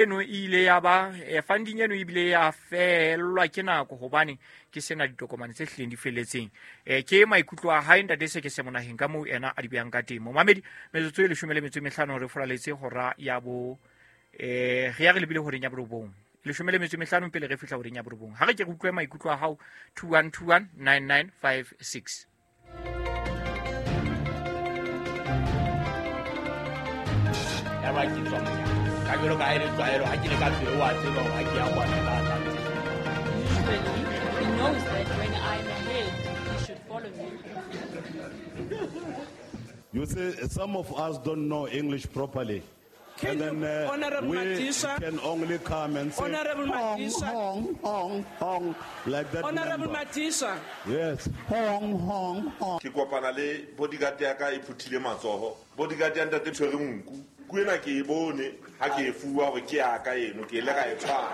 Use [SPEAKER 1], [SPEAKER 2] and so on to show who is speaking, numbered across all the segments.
[SPEAKER 1] Eno e ile ya ba funding eno ebile ya fellwa ke nako hobane ke sena ditokomane tse hlileng di felletseng. Ke maikutlo a hae ntate se ke se monaheng ka moo ena a di behang ka teng. Momamedi, metsotso e 15 re furaletse hora ya bo re ya re lebile horeng ya borobong. 15 pele re fihla horeng ya borobong. Ha re ke re utlwe maikutlo a hao 2121 9956.
[SPEAKER 2] Ya ba ke tswa monyaka. Ka jwalo ka ha e le tlwaelo, ha ke le ka tlung, wa tseba hore ha ke ya kwana ka tla ntse.
[SPEAKER 3] Usually, he knows that when I'm ahead, he should follow me.
[SPEAKER 4] You see, some of us don't know English properly.
[SPEAKER 5] Can
[SPEAKER 4] And then,
[SPEAKER 5] you, Honorable
[SPEAKER 4] we
[SPEAKER 5] Madisha,
[SPEAKER 4] can only come and say,
[SPEAKER 5] Honorable
[SPEAKER 4] Hong,
[SPEAKER 5] Madisha.
[SPEAKER 4] hong, hong, hong, like that
[SPEAKER 5] Honorable
[SPEAKER 4] number.
[SPEAKER 5] Madisha.
[SPEAKER 4] Yes. Hong, hong, hong.
[SPEAKER 6] Ke kopana le bodyguard ya ka e phuthile matsoho. Bodyguard ya ntate tshwere nku. Nku ena ke e bone ha ke e fuwa hore ke ya ka eno, ke ile ka e tshwara.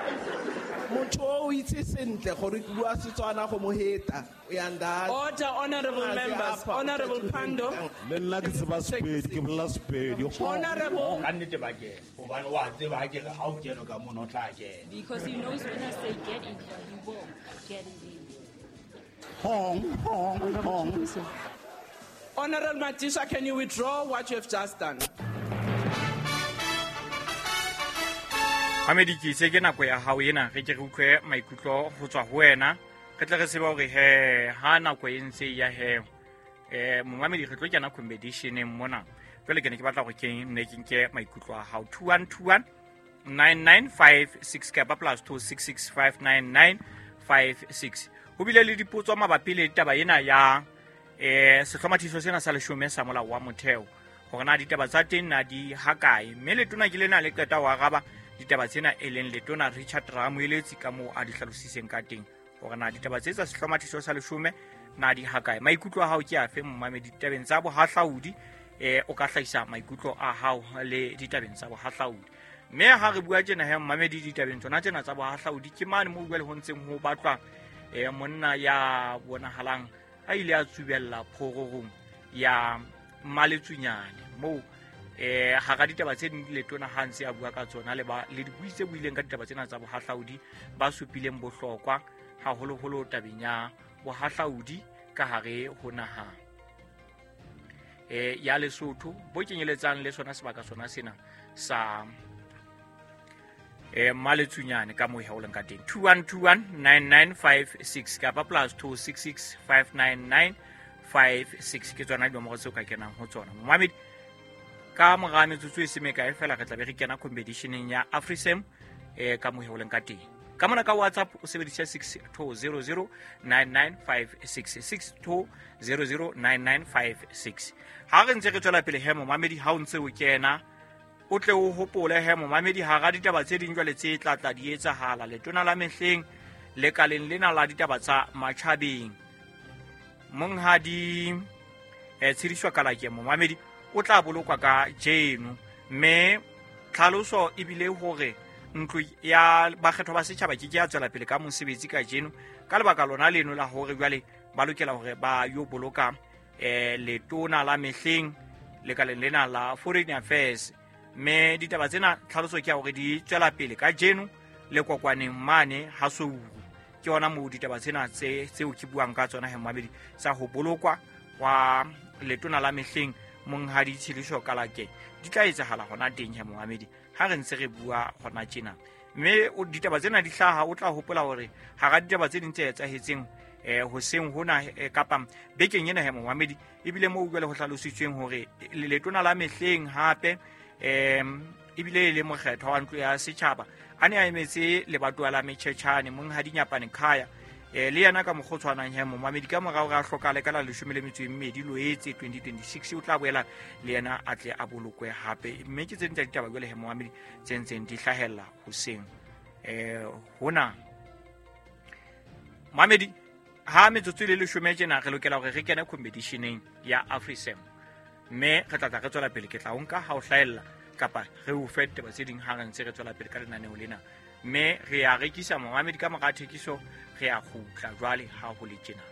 [SPEAKER 7] Motho o itse sentle gore ke bua Setswana go mo heta. O ya nda.
[SPEAKER 5] Order, honorable
[SPEAKER 7] Aze
[SPEAKER 5] members.
[SPEAKER 7] apha,
[SPEAKER 5] Honorable
[SPEAKER 7] uthathe
[SPEAKER 5] Pandor.
[SPEAKER 4] Le nna ke tseba Sepedi, ke bolela Sepedi.
[SPEAKER 5] Honorable.
[SPEAKER 2] Ka nnete ba kena. Hobane wa tseba ha ke re ha o kene ka mono o tla kena.
[SPEAKER 3] Because he knows when I say get in here, he will get in there.
[SPEAKER 4] Hong, hong, hong.
[SPEAKER 5] Honorable Madisha, can you withdraw what you have just done?
[SPEAKER 1] Mamedi, ke itse ke nako ya hao ena, re ke re utlwe maikutlo ho tswa ho wena. Re tle re tsebe hore he, ha nako e ntse e ya he, momamedi re tlo kena competition-eng mona. Jwale ke ne ke batla hore ke nne ke nke maikutlo a hao. 2121 9956 kapa plus 26659956. Ho bile le dipotso mabapi le taba ena ya sehlomathiso sena sa leshome sa molao wa motheo, hore na ditaba tsa teng na di hakae. Mme letona ke lena le qeta ho araba ditaba tsena, e leng letona Richard Ramoeletsi ka moo a di hlalositseng ka teng, hore na ditaba tse tsa sehlomathiso sa leshome na di hakae. Maikutlo a hao ke afe momamedi ditabeng tsa bohahlaudi? O ka hlahisa maikutlo a hao le ditabeng tsa bohahlaudi. Mme ha re bua tjena he momamedi ditabeng tsona tsena tsa bohahlaudi, ke mane moo jwale ho ntseng ho batlwa monna ya bonahalang a ile a tsubella phororong ya Mmaletsunyane, moo hara ditaba tse ding letona ha ntse a bua ka tsona le ba le dibui tse buileng ka ditaba tsena tsa bohahlaudi, ba supileng bohlokwa haholoholo tabeng ya bohahlaudi ka hare ho naha ya Lesotho, bo kenyeletsang le sona sebaka sona sena sa Mmaletsunyane ka moo ho leng ka teng. 2121 9956 kapa plus 26659956 ke tsona dinomoro tseo ka kenang ho tsona. Momamedi, ka mora metsotso e se mekae fela re tla be re kena competition-eng ya AfriSam ka moo ho leng ka teng. Ka mona ka WhatsApp o sebedisa 62009956, 62009956. Ha re ntse re tswela pele he momamedi, ha o ntse o kena o tle o hopole he momamedi, hara ditaba tse ding jwale tse tla tla di etsahala letona la mehleng lekaleng lena la ditaba tsa matjhabeng, monghadi Tshidiso Kalake momamedi o tla bolokwa ka jeno. Mme tlhaloso ebile hore ntlo ya bakgethwa ba setjhaba ke ke ya tswela pele ka mosebetsi ka jeno ka lebaka lona leno la hore jwale ba lokela hore ba yo boloka letona la mehleng lekaleng lena la Foreign Affairs. Mme ditaba tsena tlhaloso ke ya hore di tswela pele ka jeno le kokwaneng mane ha Souru. Ke hona moo ditaba tsena tseo ke buang ka tsona he momamedi, tsa ho bolokwa wa letona la mehleng monghadi Tshidiso Kalake di tla etsahala hona teng he momamedi ha re ntse re bua hona tjena. Mme ditaba tsena di hlaha, o tla hopola hore hara ditaba tse ding tse etsahetseng hoseng hona kapa bekeng ena he momamedi, ebile moo jwale ho hlalositsweng hore letona la mehleng hape ebile e le mokgethwa wa ntlo ya setjhaba a ne a emetse lebatowa la Metjhetjhane monghadi Nyapane Khaya, le yena ka mokgwa o tshwanang he momamedi, ka morao re a hlokahale ka la 12 Loetse 2026, o tla boela le yena a tle a bolokwe hape. Mme ke tse ding tsa ditaba jwale he momamedi tse ntseng di hlahella hoseng hona. Momamedi, ha metsotso e le 10 tjena re lokela hore re kene competition-eng ya AfriSam, mme re tla tla re tswela pele. Ke tla o nka ha o hlahella kapa re o fe ditaba tse ding ha re ntse re tswela pele ka lenaneo lena. Mme re a rekisa momamedi, ka mora thekiso re a kgutla jwale ha ho le tjena.